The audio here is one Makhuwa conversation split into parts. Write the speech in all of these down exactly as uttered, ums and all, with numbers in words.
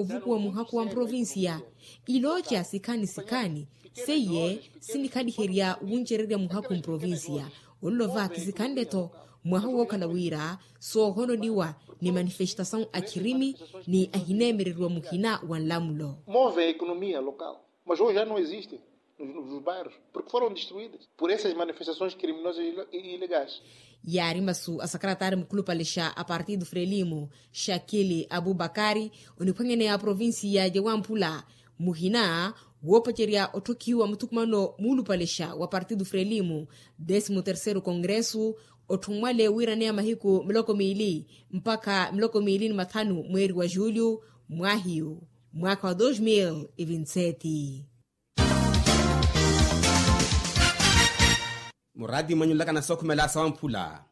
ovukuwa muhakhu wa mprovincia. Ilooca sikhaani sikhaani seiye sinikhaliherya wuncererya muhakhu mprovincia. Olova kisikhanle-tho mwaha wookhala wira soohononiwa ni manifestasawu a khirimi ni ahineemereriwa muhina wa nlamulo. Move a economia local mas hoje já não existe nos bairros porque foram destruídas por essas manifestações criminosas e ilegais. Yaari masu a sakaratari mukhulupale xa a partido frelimo xakili abubakari oniphwanyaneya a provincia ya wamphula muhina woopacerya otthokhiwa muthukumano muulupale xa wa partido frelimo décimo terceiro congresso. Otthummwale wiiraneya mahiku miloko miili mpakha miloko miili ni mathanu mweeri wa julho mwahiyu mwaakha wa dos mil e vinti sete. Muraati mwenyulaka na sookhumela sawamphula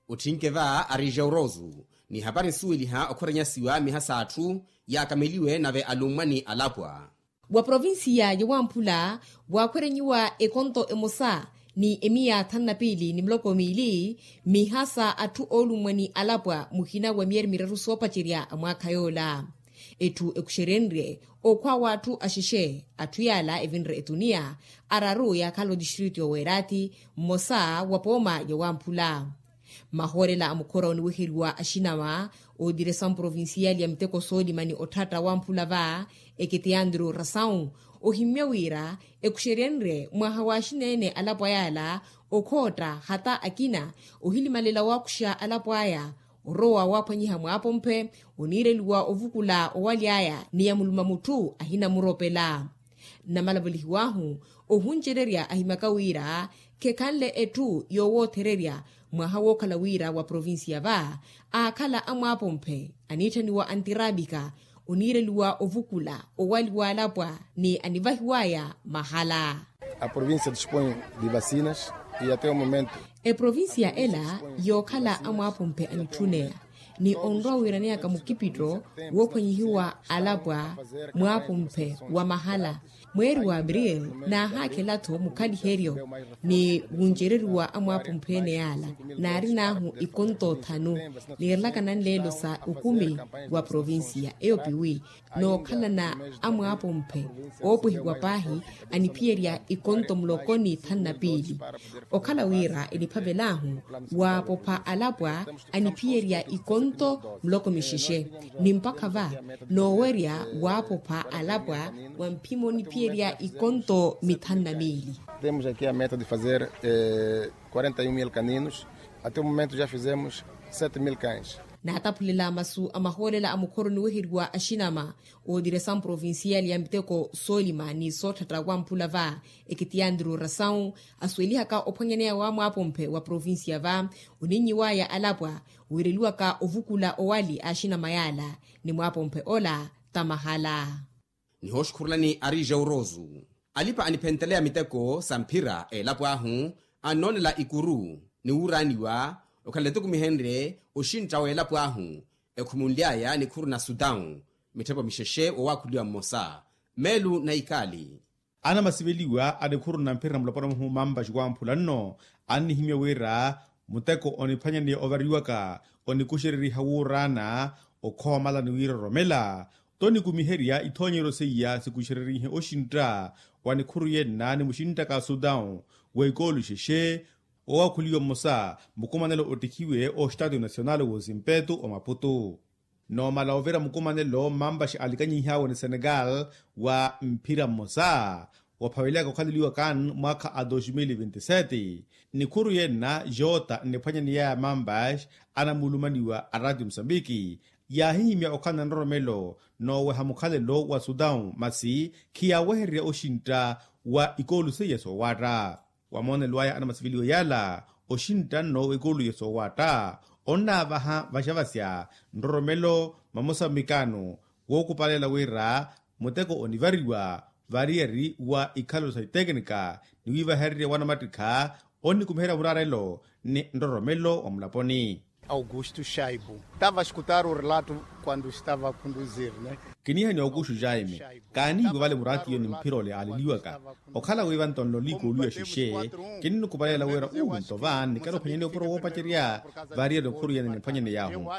otthinke va ari jaurosu ni hapari nsuweliha okhoranyasiwa miha s'atthu yaakameliwe nave alummwa ni alapwa. Wa provincia ya wamphula waakhwerenyiwa ekonto emosa ni emiya thanu na piili ni miloko miili miha sa atthu oolummwa ni alapwa muhina wa miyeeri miraru soopacerya a mwaakha yoola. Etthu ekuxerenrye okhwa w'atthu axexe atthu yaala evinre etuniya araru yaakhala otistritu y'oweerathi mmosa wa pooma ya wamphula. Mahoorela a mukhora oniweheriwa axinawa otiresamu provincial ya miteko soolima ni otthatta wamphula va eketiyantiru rasawu ohimmya wira ekuxeryenrye mwaha w'axineene alapwa yaala okhootta hata akina ohilimalela waakuxa alapwa aya orowa waaphwanyiha mwaapomphe oniireliwa ovukula owali aya ni yamuluma mutthu ahinamuropela. Namalavolihiw'ahu ohuncererya ahimyaka wira khekhanle etthu yoowoothererya mwaha wookhala wira wa provincia va aakhala amwaapomphe aniitthaniwa antirapika oniireliwa ovukula owali waalapwa ni anivahiw'aya mahala. A provincia dispõe de vacinas e até o momento. Eprovincia ela yookhala amwaapomphe anitthunneya ni onrowa wiiraneyaka mukipitto woophwanyihiwa alapwa mwaapomphe wa mahala mweeri wa abril naahaakhela-tho mukhaliheryo ni wuncereriwa amwaapomphe ene yaala naarin'ahu ikonto thanu. Niirelaka nanleelo sa okumi wa provincia eyo piwi nookhalana amwaapomphe oopwehiwa paahi aniphiyerya ikonto muloko ni thanu na piili. Okhala wira eniphavel'ahu waapopha alapwa aniphiyerya ikonto muloko mixexe ni mpakha va noowerya waapopha alapwa wa mphimo oniphiyerya ikonto mithanu na miili. Temos aqui a meta de fazer quarenta e um mil caninos. Até o momento já fizemos sete mil cães. Naataphulela masu a mahoolela a mukhoro oniweheriwa axinama ootiresa mprovincial ya miteko soolima ni sootthatta wamphula va ekitiyantiru rasawu asuwelihaka ophwanyaneya wa mwaapomphe wa provincia va oninyiw'aya alapwa wiireliwaka ovukula owali a axinama yaala ni mwaapomphe ola tamahala. Nihooxukhurulani ari jaurosu alipa aniphenteleya miteko sa mphira eelapo ahu annoonela ikuru ni wuuraaniwa okhala etukumihenrye oxintta w'eelapo ahu ekhumunly'aya nikhuru na sutawu mitthepo mixexe wowaakhuliwa mmosa meelu na ikaali. Anamasiveliwa a nikhuru na mphira na mulopwana muhu mampaxi wamphula nno annihimya wira muteko oniphwanyaneya ovariwaka onikuxereriha wuuraana okhoomalani wiiroromela tonikumiherya ithoonyeryo seiya sikuxererihe oxintta wa nikhuru yenna ni muxinttaka a sutawu w'ekoolo ixexe wowaakhuliwa mmosa mukumanelo ottikhiwe oxtatiyo nasional w'osimpetu omaputu. Noomala ovira mukumanelo mampaxi alikanyihihawe ni senegal wa mphira mmosa waphaveliyaka okhaleliwa kan mwaakha a dos mil vinti sete nikhuru yenna joota nniphwanyaneyaya mampaxi anamulumaniwa a ratio musambiki yaahihimya okhala na nroromelo nooweha mukhalelo wa sutawu masi khiyaawehererya oxintta wa ikoolu seiya soowaatta. Wa moonelo aya anamasiveliwa yaala oxintta nno w'ekoolo ya soowaatta onnaavaha vaxavasya nroromelo mamosa mmikaano wookupalela wira muteko onivariwa variyari wa ikhalelo sa itekinika ni wiivahererya wanamattikha onnikumiherya muraarelo ni nroromelo wa mulaponi. Augusto shaibu tava escutar o relato quando estava a conduzir ne. Kiniiha ni augusto jaime, kaaniiwe vale muraatiyo ni mphira ole aaleliwaka. Okhala wi vantonlo liikooluya xexe, kinnikupaleela wira uu nto va nnikela ophwanyani opuro woopacerya. Variyela ophuruyani ni mphwanyani yaahu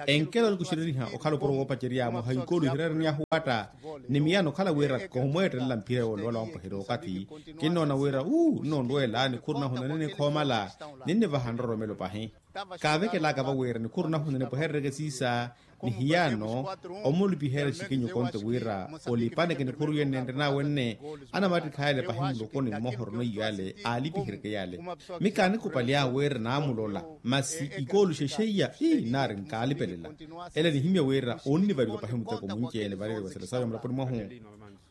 enkela onikuxereriha okhala opuro woopacerya mwaha ikoolu ihireereniyahu watta. Ni miyana okhala wira koomweettelela mphira yoole wala wampweherya okathi. Kinnoona wira uu nnoonrweela nikhuru nahu naninikhoomala. Ninnivaha nroromelo pahi. Kaavekelaka va wira nikhuru nahu ninipweherereke siisa. Ni hiyaano omulipiherya xikinyu konte wira olipaneke nikhuru yenne nrinaawe nne. Anamattikha yale pahi mulokoni mmoha orona iyo yale aalipiheryeke yale. Mi kaanikupalya wira naamulola masi ikooluxe xeiya ii naari nkaalipelela. Ele nihimya wira onnivariwa pahi muteko munci-ene vareeriwa selesawe mulaponi mwahu.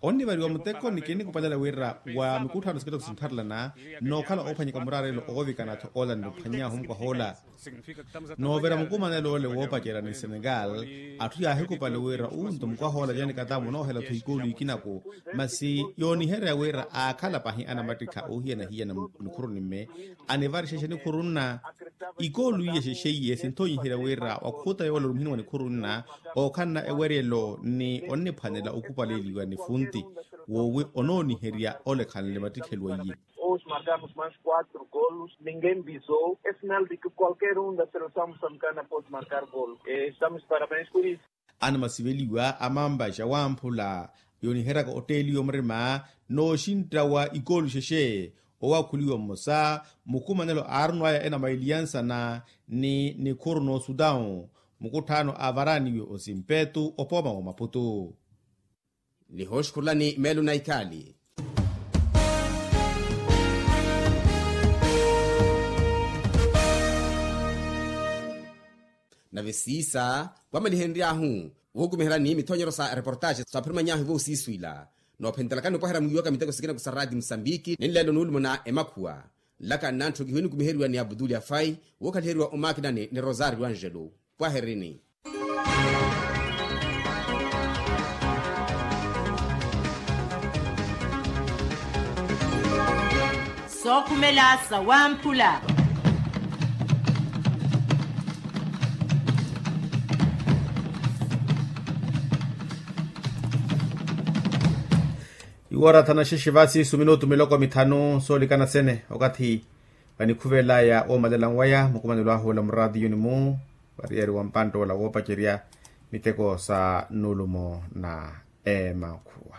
Onnivariwa muteko ni kinikupalela wira wa mikutthano sikitoko sintharelana nookhala oophwanyeka muraarelo oovikana-tho oola ninophwanyaahu mukwahoola. Noovira mukumanelo ole woopacerya ni senegal, atthu yaahikupale wira unto mukwahoola janikatamu noohela-tho ikoolu ikinaku. Masi yooniherya wira aakhala pahi anamattikha oohiyana-hiyana nikhuru nimme anivarixexe nikhuru nna. Ikoolu iye xexeiye sinthonyiherya wira wakhuta yoola orumihini wa nikhuru nna ookhanna eweryelo ni onniphwanela okupaleeliwa ni funti woowi onooniherya olekhanle mattikheluwa iye. Hoje marcamos mais quatro golos, ninguém bisou. É sinal de que qualquer um da seleção moçambicana pode marcar golo. Estamos de parabéns por isso. Anamasiveliwa a mampa ja wamphula yooniheryaka otteeliwa murima nooxintta wa ikoolu xexe. Owaakhuliwa mmosa mukumanelo aarunwaya ena mailiyansana ni nikhuru noosutawu. Mukutthaano aavaraniwe osimpetu opooma wa maputu. Nihooxukhurulani meelo na ikhaali. Nave siisa wamalihenry'ahu wuhukumiherani mithonyeryo sa reportaaxi saaphirumany'ahu voosiiswila. Noophentelakani opwaherya mwiiwaka miteko sikina ku sa raati musambiki ni nleelo nuulumuna emakhuwa. Nlaka nnantthukihwe nikumiheriwa ni abutuli afai wookhaliheriwa omakinani ni rosario angelo. Pwaherini. Sookhumela sawamphula. Iwora thanaxexe vasi suminutu miloko mithanu soolikana sene okathi vanikhuvelaya woomalela nwaya mukumanelo ahu ola muraatiyuni-mu. Variyari wa mpantta ola woopacerya miteko sa nulumo na emakhuwa.